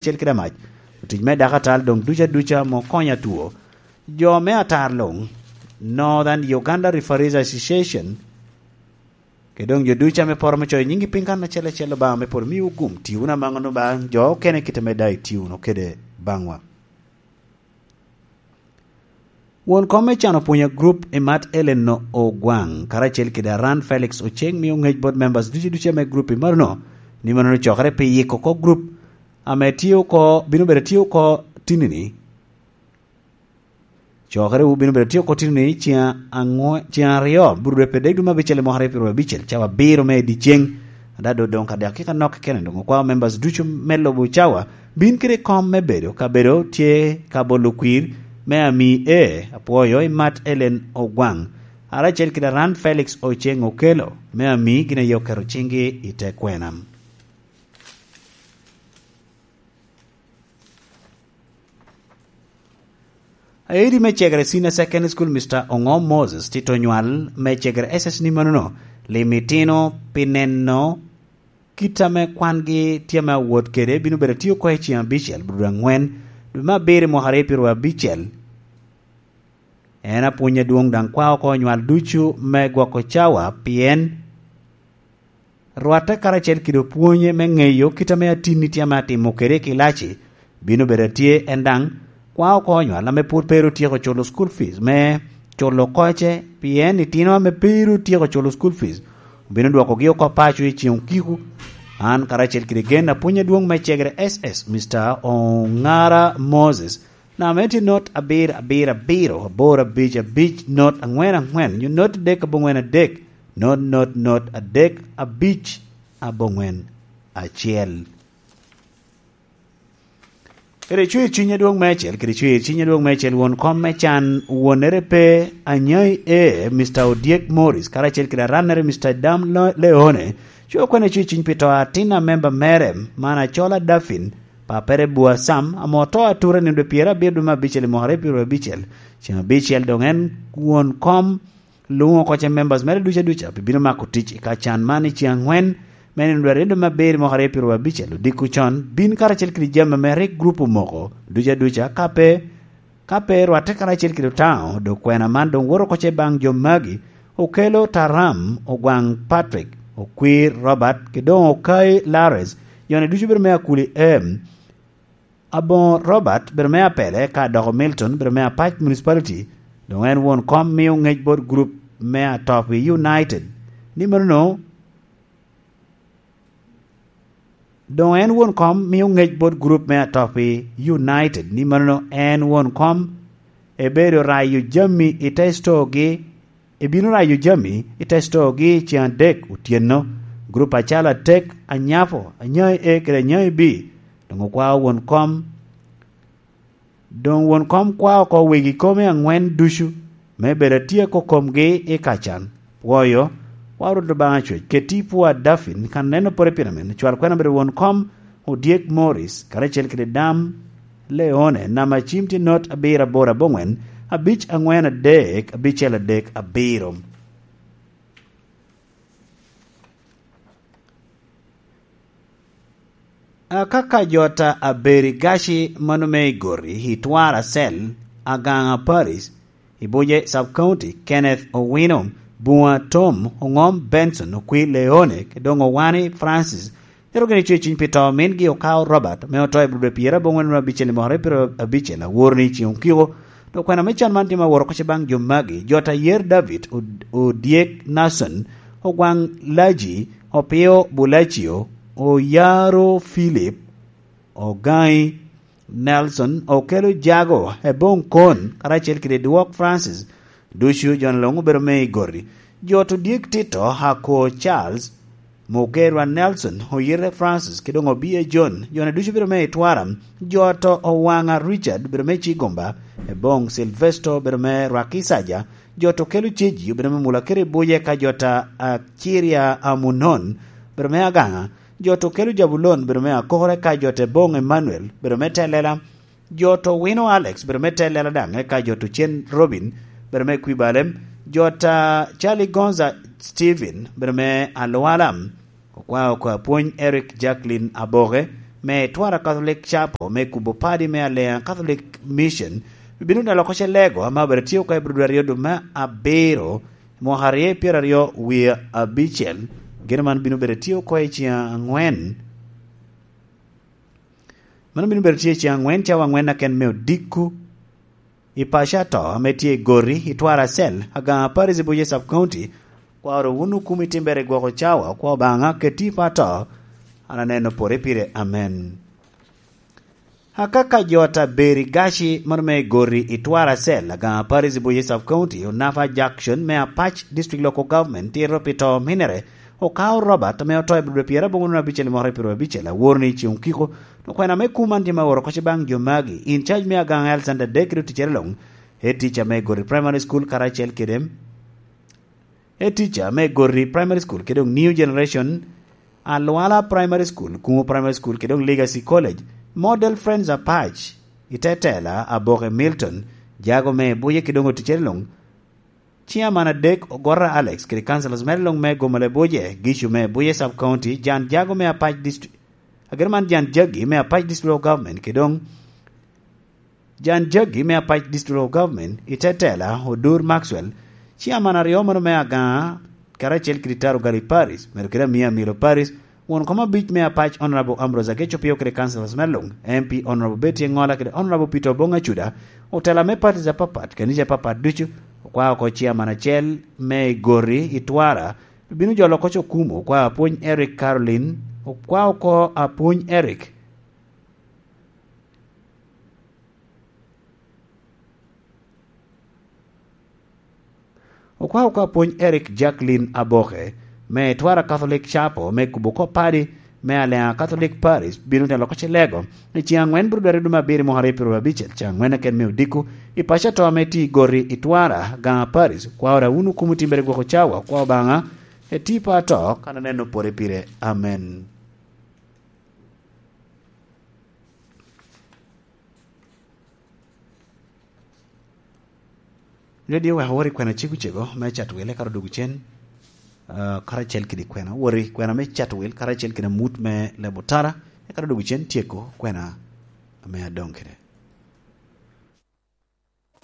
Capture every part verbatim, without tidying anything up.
acel kede amac, otic me dakatal doŋ duca duca ame okonyo atwo, jo me atar luŋ, Northern Uganda Referees Association, kede doŋ jo duca ame poro me coyo nyingi piny kan acel acel, Obaŋa me polo miwu gum, ti wunu amaŋono ba jo okene kite me daŋ iti wunu kede baŋwa. Won kom me can opwonyo grup i mat Ellen Ogwaŋ, karacel kede Aran Felix Oceng, mio ŋec bot members ducu ducu ame grup i manono, ni manono cokere pi yiko oko grup ame tye oko, bino bedo tye oko tinini. Cokere wu bino bedo tye oko tinini ciŋ aŋwe-, ciŋ aryo, buru dwe pe dek dwe me abicel i mwaka aryo pyero abicel, cawa abiro me i dyeceŋ. Ada do doŋ ka dakika nok kene doŋ okwao members ducu me lubo cawa bin kede kom me bedo ka bedo tye ka bolo kwir me ami e apwoyo i mat Ellen Ogwaŋ, ara acel kede Aran Felix Oceng Okelo me ami gin aye oketo ciŋgi i te kwena. Aedi me cegere Senior Secondary School, Mister Oŋo Moses, tito nywal me cegere S S ni manono, lim itino pi neno kit ame kwangi tye ame awot kede, bino bedo tye oko i ciŋ abicel, bur aŋwen, dwe me abiro i mwaka aryo pyero abicel. En apwony adwoŋ daŋ kwao oko nywal ducu me gwoko cawa, pien rwatte karacel kede opwonye me ŋeyo kit ame atinni tye ame atimo kede i kilaci, bino bedo atye en daŋ kwao oko nywal ame pwod pe ru tyeko culo school fees me culo koce, pien itino ame pe ru tyeko culo school fees obino dwokogi oko paco i ciŋ okiko. An karacel kede gen apwony adwoŋ me cegere S S, Mister Oŋara Moses, namba me tye not abiro abiro abiro aboro abic abic not aŋwen aŋwen, nyo not adek aboŋwen adek, not, not, not, adek, abic, aboŋwen, acel. Kede cwer cwiny adwoŋ me acel, kede cwer cwiny adwoŋ me acel, won kom me can wonere pe, anyai e, Mister Odyek Morris, karacel kede arannere, Mister Dam Lo-, Leone, cwer kwene cwer cwiny pi to atin a memba mere, man Acola Daffin, papere Bua Sam, ame oto atura nino dwe pyerabiro dwe me abicel i mwaka aryo pyerabicel, ciŋ abicel doŋ en won kom luŋo oko ce members mere duca duca pi bino mako tic i ka can man i ciŋ aŋwen me nino dwe aryo dwe me abiro i mwaka aryo pyerabicel odiko con, bin karacel kede jami ame rik grup omoko duca duca, ka pe, ka pe rwatte karacel kede Otaŋo, dok kwena man doŋ woto oko ce baŋ jo magi, Okelo Taram, Ogwaŋ Patrick, Okwir Robert, kede doŋ Okai Lares, joni ducu bedo me Akuli M, Aboŋo Robert, bedo me Apele, ka doko Milton, bedo me Apac Municipality, doŋ en won kom mio ŋec bot grup me Atopi United. Ni manono, doŋ en won kom mio ŋec bot grup me Atopi United. Ni manono, en won kom ebedo rayo jami i te stogi, ebino rayo jami i te stogi ciŋ adek otyeno. Grup acalo Atek, Anyapo, Anyai A kede Anyai B, doŋ okwao won kom. Doŋ won kom kwao oko wegi kome aŋwen ducu, me bedo atyeko komgi i ka can. Pwoyo, wa Rwot Obaŋa Cwec, keti i pwo a Dafin, kan neno pore pire men, cwal kwena bedo won kom, Odyek Morris, karacel kede Dam Leone, namba cim tye not abiro aboro aboŋwen, abic aŋwen adek, abicel adek abiro. Akaka jota Aberi Gaci mano me Igori, Itwara Cell, Agaŋa Paris, Ibuje Sub County, Kenneth Owino, Bunga Tom, Oŋom Benson, Okwi Leone, Kedongo Wani Francis, Cito gin icwe cwiny pi to mingi Okao Robert, me oto i Abril dwe pyerabongwen abicel i mwaka aryo pyerabicel, aworo ni i ciŋ okiko. Dok kwena me can man tye ma woro oko ce baŋ jo magi: Jota Yer David, Od-, Odyek Nason, Ogwaŋ Laji, Opio Bulacio, Oyaro Philip, Ogaŋi Nelson, Okelo Jago, Ebong Kon, karacel kede Dwok Francis, ducu jo-ni luŋ obedo me Igori. Jot Odyek Tito, Ako Charles, Mugerwa Nelson, Oyite Francis, kede doŋ Obia John, jo-ni ducu obedo me Itwara. Jot Owaŋa Richard obedo me Cigomba, Ebong Silvesto obedo me Rwakicaja, jot Okelo Ceji obedo me Mula kede Ibuje, ka jot a Ciria Amunon obedo me Agaŋa, jot Okelo Jabulon obedo me Akokore, ka jot Ebong Emmanuel obedo me Telela, jot Owino Alex obedo me Telela daŋ, eka jot Ocen Robin obedo me Kwibalem, jot a Charlie Gonza Steven obedo me Alwala, okwao oko apwony Eric Jacqueline Aboke, me Twara Catholic Chapel me kubo padi me Alea Catholic Mission, bino neno oko ce lego ame obedo tye oko i Abril aryo dwe me abiro, mwaka aryo i pyeraryo wie abicel. Geno man bino bedo tye oko i ceng angwen. Mano bino bedo tye i ceng angwen, cawa angwen aken me odiko. I paco ato ame tye i Gori, i Twara Cell, Aganga Parish i Buye Sub County, kwaro wun okumi timbere i gwoko cawa, okwa Obaŋa, keti i pa ato, an aneno pore pire. Amen. Akaka jo ata beri gaci mano me Gori i Twara Cell, Aganga Parish i Buye Sub County, Onafa Junction me Apac District Local Government, tito pi to minere, Okao Robert, ame oto i Abril pyerabongwen abicel i mwaka pyerabicel, aworo ni i ceŋ okiko, okwena me kum man tye ma oro oko ce baŋ jo magi, in charge me Aganga Alexander Dek kede oticere luŋ, head teacher me Gori Primary School karacel kede, head teacher me Gori Primary School kede doŋ New Generation, Alwala Primary School, Kumo Primary School kede doŋ Legacy College, Model Friends Apac, i te tela Aboke Milton, jago me Buye kede doŋ oticere luŋ, Chairman adek, Ogora Alex, kede councillors mere luŋ me Gomale Buje, Gicu me Buye Sub County, Jan Jago me Apac Dist-, agero man Jan Jagi me Apac District Local Government, kede doŋ Jan Jagi me Apac District Local Government, i te tela, Odur Maxwell, Chairman aryo mano me Aganga, karacel kede Taro Gali Paris, medo kede Amia Milo Paris, Won kom abic me Apac Honorable Ambrose Ageco Pio kede councillors me luŋ, M P Honorable Betty Engola kede Honorable Peter Obong Acuda, otela me parties apapat, kanica apapat ducu, okwao oko chairman acel me i Gori i Twara, bino jolo oko Cokumo, okwao apwony Eric Caroline, okwao oko apwony Eric. Okwao oko apwony Eric Jacqueline Aboke, me Twara Catholic Chapel, me kubo kop padi, me Alea Catholic Parish, bino telo oko Celego, i ceŋ angwen Abril dwe me abiro i mwaka aryo pyeraryo abicel, ceŋ angwen aken me odiko, i paco ato ame tye i Gori i Twara, Aganga Parish, kwao ra wunu kumo timbere gwoko cawa, kwao Obaŋa, eti pa ato, kan aneno pore pire. Amen. Redio wek owor i kwena cegocego me Catwil, eka odwogo cen, ah, karacel kede kwena. Owor i kwena me Catwil karacel kede amut me Lebotara, eka odwogo cen tyeko kwena ame adoŋ kede.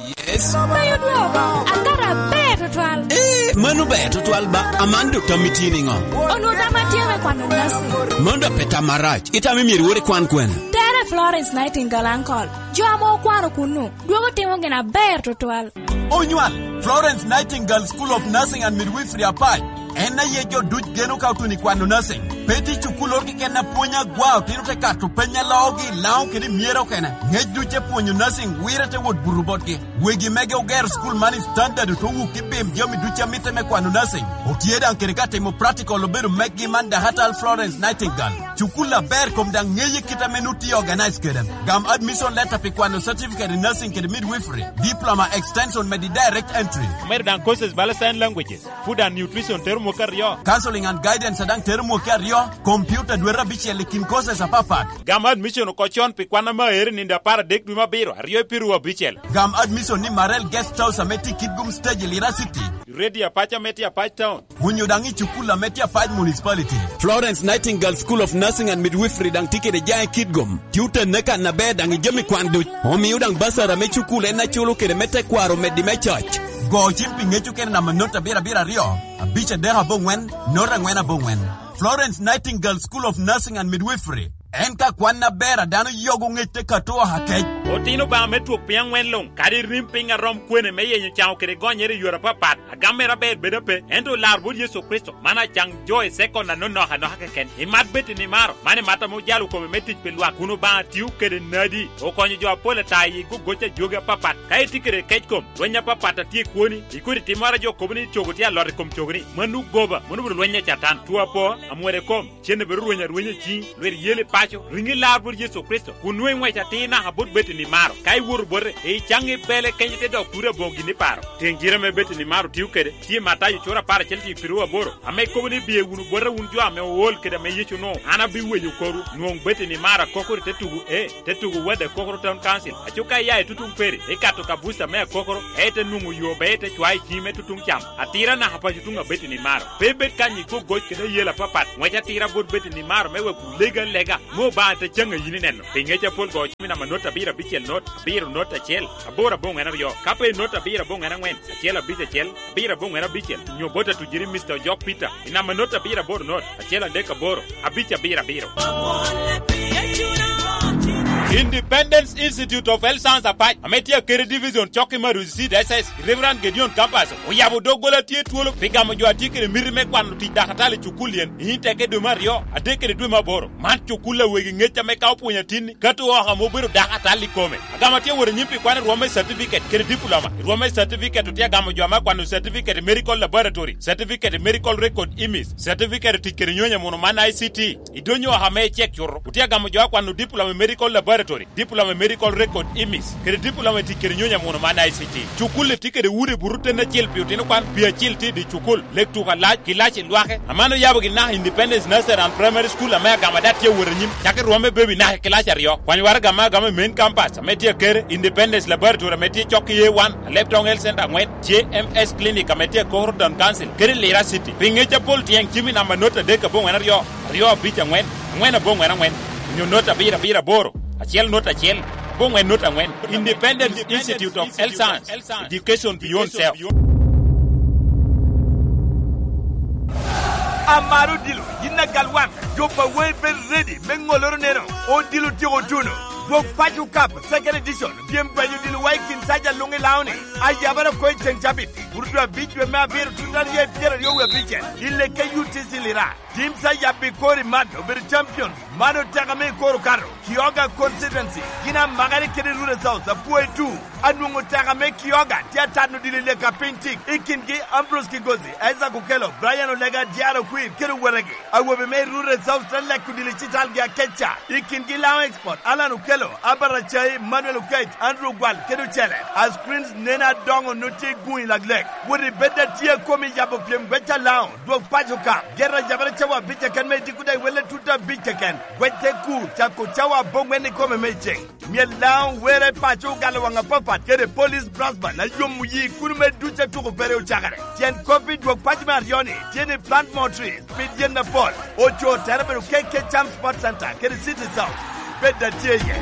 Yes. Bayo dwogo, akara ber tutwal. Eh, mano ber tutwal ba. Aman dok tam itye niŋo? Onwoŋo tam atye me kwano nasi. Mano dok pe tam marac. Itam imyero iwor ikwan kwena? Tere Florence Nightingale, uncle. Jo ame okwano kunnu, dwogo timo gin aber tutwal. Onywal, Florence Nightingale School of Nursing and Midwifery Apac. En aye jo duc geno ka otuno i kwano nursing. Pe tye cukulloro keken a pwony agwa otino te kato peny a loogi i Laŋo kede i Myera okene. Ngec duc te pwonyo nursing wire te wot buto botgi. Wegi mege ogero cukul man i standard oto wuk i bim jami duc a mitte me kwano nursing. Otye daŋ kede ka timo practical obedo meggi man Dakatal Florence Nightingale. Cukul aber kom daŋ ŋeye kit ame nu tye organize kede. Gam admission letter pi kwano certificate in nursing kede midwifery, diploma extension med i direct entry. Omedo daŋ courses bala sign languages, food and nutrition tero mwaka aryo. Counseling and guidance daŋ tero mwaka aryo, computer dwete abicel i kin courses apapat. Gam admission oko con pi kwan ame aero i nino apar adek dwe me abiro, aryo i pyeraryo abicel. Gam admission ni Marel Guest House ame tye i Kitgum Stage i Lira City. Ready Apac ame tye Apac Town. Onyo daŋ i cukul ame tye Apac Municipality. Florence Nightingale School of Nursing and Midwifery daŋ tye kede jaŋ i Kitgum. Tye otenne kan aber daŋ i jami kwan duc. Omio daŋ basara me cukul en aculo kede me tekwaro meddi me coc. Go cim pi ŋec okene namba not abiro abiro aryo, abic adek aboŋwen, not angwen aboŋwen. Florence Nightingale School of Nursing and Midwifery. En ka kwan aber a dano yogo ŋec te kato oha kec. Otino Obaŋa me twok piny aŋwen luŋ, kadi rim piny a rom kwene me yenyo caŋo kede gonyere i yore apapat, agam mere aber bedo ape, ento lar bot Yecu Kricito, man acaŋ jo i sekon anonok anoka keken. Imat bed i nimaro, man imat ame ojalo kome me tic pi lwak, kun Obaŋa tio kede nadi, okonyo jo apol ata i gogoc a jogi apapat. Ka itye kede kec kom, lweny apapat a tye i kwoni, ikodi timmoro a jo kobo ni cogo tye alot i kom cogoni, mano goba, mano obedo lweny a Catan, two apo, amwero i kom, cen obedo rweny arwenya i ciŋi, lwit yel i paco, riŋi lar bot Yecu Kricito, kun nwoŋo iŋwec atir naka bot Betani maro. Ka iwoto bote, icaŋ i bele kenyo ite dok turi aboŋo gin iparo. Tiŋ cite ame Betani maro tio kede, tye i Matayo cura apar acel cik piru aboro, ame kobo ni, "Biye wunu bota wun jo ame ool kede ame Yecu onwoŋo, an abiwenyo korwu." Nwoŋo Betani maro akokoro i te tugo, ee, te tugo Wadde Kokoro Town Council. Aco ka iya i tutuŋ Peri, ikato kabuca me akokoro, ite nwoŋo yo be ite cwayo i ciŋi me tutuŋ cam. Atira naka paco tuŋ a Betani maro. Pe ibed kany i gogoc kede ayela apapat. Ŋwec atira bot Betani maro me wek wulega lega. Nwoŋo Obaŋa te caŋ a yin ineno. Pi ŋec apol go cim i namba not abiro abicel not, abiro not acel, aboro aboŋwen aryo. Ka pe not abiro aboŋwen aŋwen, acel abic acel, abiro aboŋwen abicel, nyo bot atujiri Mister Ojok Peter i namba not abiro aboro not, acel adek aboro, abic abiro abiro. Independence Institute of Health Science Apac, ame tye Akere Division, cok i Maruzi Seed S S, Reverend Gedeon Campus, oyabo doggola tye twolo pi gamo jo a tye kede miti me kwano tic dakatali i cukul yen i teke dwe me aryo, adek kede dwe me aboro. Man cukul a wegi ŋec ame ka opwonyo atinni, kato oko ame obedo dakatali i kome. Agamo atye wot anyim pi kwano i rwom me certificate kede diploma. I rwom me certificate otye agamo jo ame akwano certificate i medical laboratory, certificate i medical record imis, certificate i tic kede nyonya muno man I C T. I donyo oko ame icek cuto, otye agamo jo akwano diploma i medical laboratory, diploma i medical record imis, kede diploma i tic kede nyonya muno man I C T. Cukul-li tye kede udi buto ten acel pi otino kwan, pi acil tye i dye cukul, lek tuko alac, kilaci lwake. Aman oyabo gin naka Independence Nursery and Primary School ame agamo ada tye wot anyim, cako i rwom me baby naka i kilaci aryo. Kwany waraga ame agamo i main campus ame tye Akere, Independence Laboratory ame tye cok i A one, Aleptong Health Center aŋwen, J M S Clinic ame tye Akoko Town Council, kede Lira City. Pi ŋec apol tyeŋ cim i namba not adek aboŋwen aryo, aryo abic aŋwen, aŋwen aboŋwen aŋwen, onyo not abiro abiro aboro, acel not acel, aboŋwen not aŋwen. Independence Institute of Health Science, Education Beyond Self. Amaro odilo, yin agal wan, jo pa wei bed ready me ŋoloro neno, odilo tyeko tuno. Dwok Paco Cup, Second Edition, pyem gwenyo odilo wa i kin saja luŋ i Laoni, ayabara oko i ceŋ cabit, burudu abic dwe me abiro tut aryo i pyeraryo wie abicel, i lekke U T C Lira. Teams a yabbi kor i man obedo champions. Man oteka me i kor okato. Kioga constituency, gin amakere kede Rural South, apwoyo tu. Anwoŋo oteka me Kioga tye atano dilo i leka piny tik. I kingi Ambrose Kigozi, Isaac Okello, Brian Olega, Diaro Kwir, kede owetegi. Awobe me Rural South te leko dilo i citalgi akeca. I kingi Lao Export, Alan Okello, Albert Acai, Manuel Okech, Andrew Gwal, kede ocele. A screens nen adoŋo no tye i guŋ i laglek. Wot i bed atye a komi yabo pyem gweca Lao. Dwok Paco Cup, gero ajabere cawa abic keken me idiko daŋ iwelle tut abic keken. Gwec te kur, cako cawa aboŋwen ikome me iceŋ. Myel Laŋo were paco ogalo waŋ apapat kede Police Brass Band a yomo yi kuno me duc a tuko pere ocakere. Tyen kop i dwok paco me aryo-ni tye ni plant more trees, pid yen apol. Oco tere bedo K K Cham Sports Center kede City South. Bed atye iye.